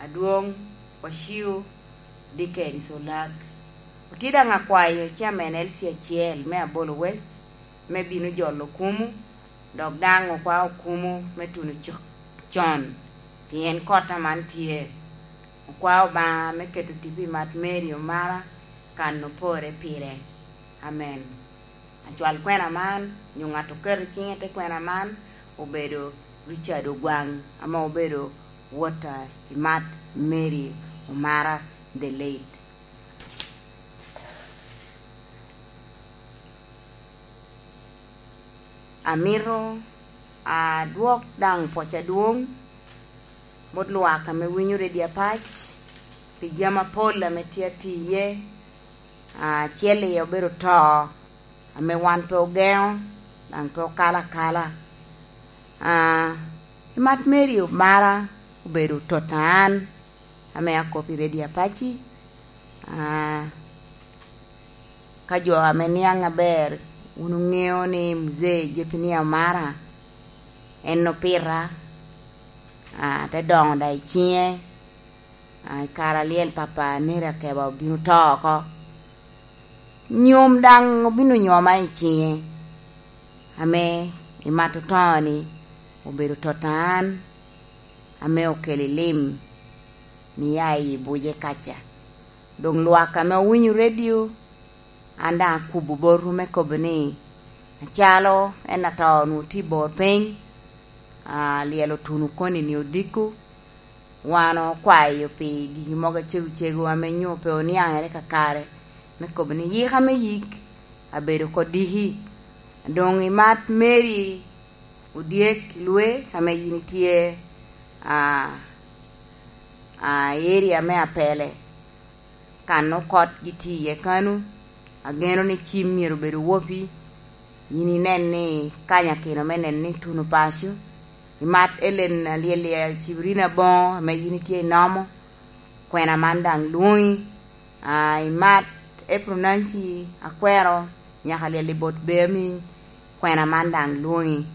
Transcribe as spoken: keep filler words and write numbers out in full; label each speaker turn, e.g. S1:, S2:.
S1: Adwong Waciu Dickens Olag otye dang akwayo chairman L C acel me Abolo West me bino jolo kumu dok dang okwa okumu me tuno con pien kota man tye okwa Obanga me keto tipo i mat Mary Omara kan opore pire amen. Acwal kwena man nyo ng'at oketo cinge te kwena man obedo Richard Ogwang ama obedo wota i mat Mary Omara the late. Amito adwok dang pwoc adwong bot lwak ame winyo Radio Apac pi jami mapol ame tye atye iye acel iye obedo to ame wan pe ogengo dang pe okalo akala i mat Mary Omara obedo tota an ame akop i Radio Apaci ka jo ame niang aber wun ungeo ni mzee Zephania Omara en opita te dongo da i cinge i kare alyel papa Neri Akeba obino to oko nyom dang obino nyoma i cinge ame i mat oto-ni obedo tota an ame okelo lim niya i buce kaca dong lwak ame owinyo radio an dang akubo botwu me kobo ni acalo en ato onongo tye i bor piny lyel otuno koni ni odiko wan okwayo pi giki mogo acego cego ame nyo pe oniangere kakare me kobo ni yika me yik abedo kodiki dong i mat Mary Odyek Lwe ame in itye i area me Apele kan okot gitye iye kanu ageno ni cim myero obedo wopi in inen ni kanya kino me neno ni tuno paco i mat Ellen Alyel Cibrina Bongo ame in itye i nomo kwena man dang lwongi i mat April Nancy Akwero nyaka lyel i bot Beaminy kwena man dang lwongi.